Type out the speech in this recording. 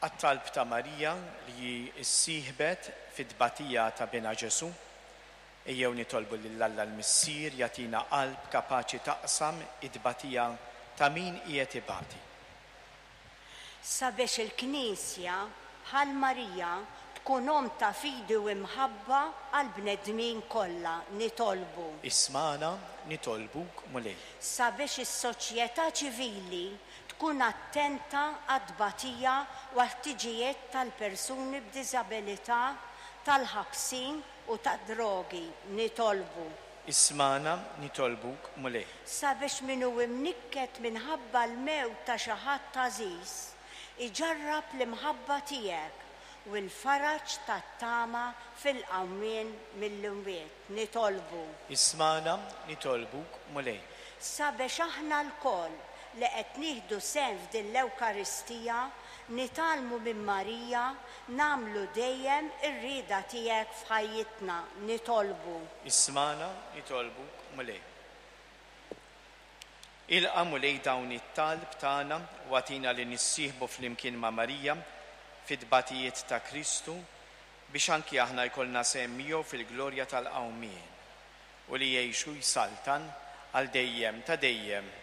Għat-talb ta' Marija li hi ssieħbet fit-tbatija ta' Binha Ġesù, ejjew nitolbu lil Alla l-Missier jagħtina qalb kapaċi taqsam it-tbatija ta' min qiegħed ibati. Sabiex il-Knisja, bħal Marija, tkun omm ta' fidi u imħabba għall-bnedmin kollha, nitolbu. Ismagħna, nitolbuk, Mulej. Sabiex is-soċjetà ċivili tkun attenta għat-tbatija u għall-ħtiġijiet tal-persuni b'diżabilità, tal-ħabsin u tad-drogi, nitolbu. Ismagħna, nitolbuk, Mulej. Sabiex min hu imnikket minħabba l-mewt ta' xi ħadd għażiż, iġarrab l-imħabba tiegħek u l-faraġ tat-tama fil-qawmien mill-imwiet, nitolbu. Ismagħna, nitolbuk, Mulej. Sabiex aħna lkoll li qed nieħdu sehem f'din l-Ewkaristija nitgħallmu minn Marija nagħmlu dejjem ir-rieda tiegħek f'ħajjitna, nitolbu. Ismagħna, nitolbuk, Mulej. Ilqa', Mulej, dawn it-talb tagħna u agħtina li nissieħbu flimkien ma' Marija fit-tbatijiet ta' Kristu biex anki aħna jkollna sehem miegħu fil-glorja tal-qawmien, u li jgħix u jsaltan għal dejjem ta' dejjem.